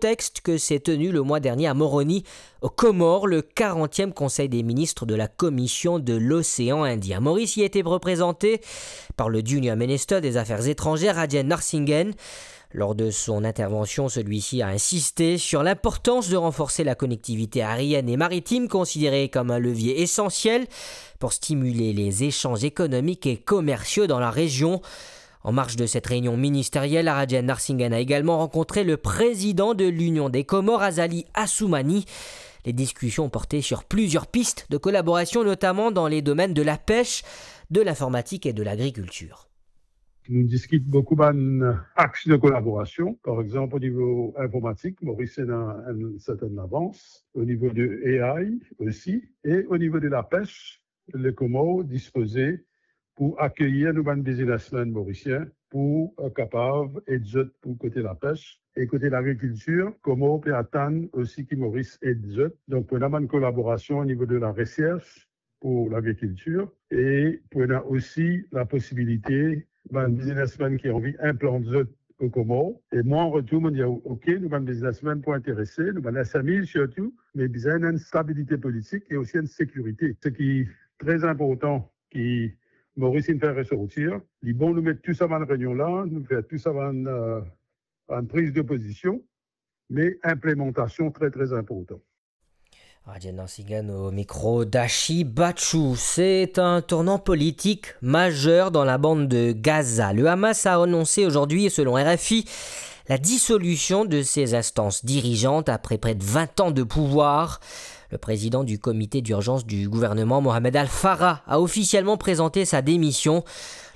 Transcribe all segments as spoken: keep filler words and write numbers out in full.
contexte que s'est tenu le mois dernier à Moroni, aux Comores, le quarantième Conseil des ministres de la Commission de l'océan Indien. Maurice y était représenté par le Junior Minister des Affaires étrangères, Rajen Narasimhan. Lors de son intervention, celui-ci a insisté sur l'importance de renforcer la connectivité aérienne et maritime, considérée comme un levier essentiel pour stimuler les échanges économiques et commerciaux dans la région. En marge de cette réunion ministérielle, Rajen Narasimhan a également rencontré le président de l'Union des Comores, Azali Assoumani. Les discussions portaient sur plusieurs pistes de collaboration, notamment dans les domaines de la pêche, de l'informatique et de l'agriculture. Nou diskit boukou bann aks de kolaborasion, par exanp, o nivo informatik, Moris ena enn sertenn avans, o nivo de A I osi, e o nivo de lapes, le Komor dispoze pou akeyir nou bann biznesmenn morisien pou, eh, kapav ed zot pou kote lapes. E kote lagrikiltir, Komor pe atann osi ki Moris ed zot. Donk, pou ena bann kolaborasion o nivo de laresers, pou lagrikiltir e pou ena osi laposibilite bann biznesmenn ki anvi inplant zot o Komor. E mwa, an retour, mo dir, ok, nou bann biznesmenn pou interese, nou bann S M E sirtou, me bizin ena enn stabilite politik e osi enn sekirite. Seki tre inportan ki Moris inn fer resortir, li bon nou met tou sa bann reynion la, nou fer tou sa bann, eh, bann priz de pozision, me inplemantasion tre, tre inportan. Rajen Narasimhan au micro d'Ashi Bachchu. C'est un tournant politique majeur dans la bande de Gaza. Le Hamas a annoncé aujourd'hui, selon R F I, la dissolution de ses instances dirigeantes après près de vingt ans de pouvoir. Le président du comité d'urgence du gouvernement, Mohamed Al-Farah, a officiellement présenté sa démission.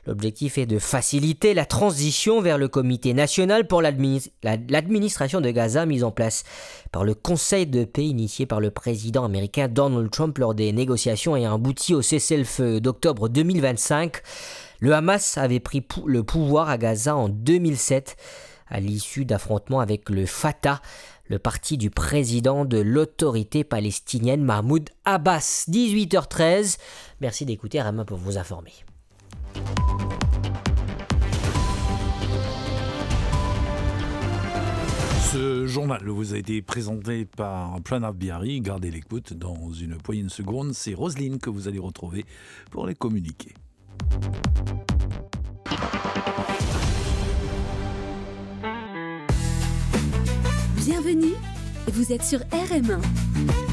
L'objectif est de faciliter la transition vers le Comité national pour l'adminis-, la, l'administration de Gaza, mise en place par le Conseil de paix initié par le président américain Donald Trump lors des négociations ayant abouti au cessez-le-feu d'octobre deux mille vingt-cinq. Le Hamas avait pris pou-, le pouvoir à Gaza en deux mille sept, à l'issue d'affrontements avec le Fatah, le parti du président de l'autorité palestinienne Mahmoud Abbas. Dix-huit heures treize. Merci d'écouter R M un pour vous informer. Ce journal vous a été présenté par Pranav Bihari. Gardez l'écoute, dans une poignée de secondes, c'est Roselyne que vous allez retrouver pour les communiqués. Bienvenue, vous êtes sur R M un.